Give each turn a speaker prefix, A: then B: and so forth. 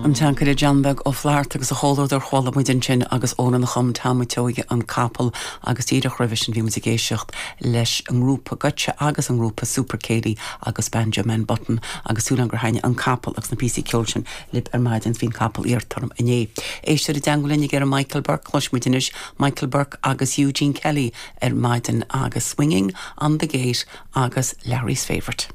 A: An seanchaire John Beag Ó Flatharta agus a chomhluadar chuala muid ansin agus amhrán a chum Tom Seoighe An Capall agus díreach roimhe sin bhí muid ag éisteacht leis an ngrúpa Goitse agus an ngrúpa Super Céilí agus Banjo Man Button agus súil agam gur thaitnigh an capall agus na píosaí ceoil sin libh ar maidin bhí an capall iarrta orm inné. Éisteoir i dteangmháil linn ag iarraidh Michael Burke, cloisfidh muid anois Michael Burke agus Eugene Kelly ar maidin agus Swinging on the Gate agus Larry's Favourite.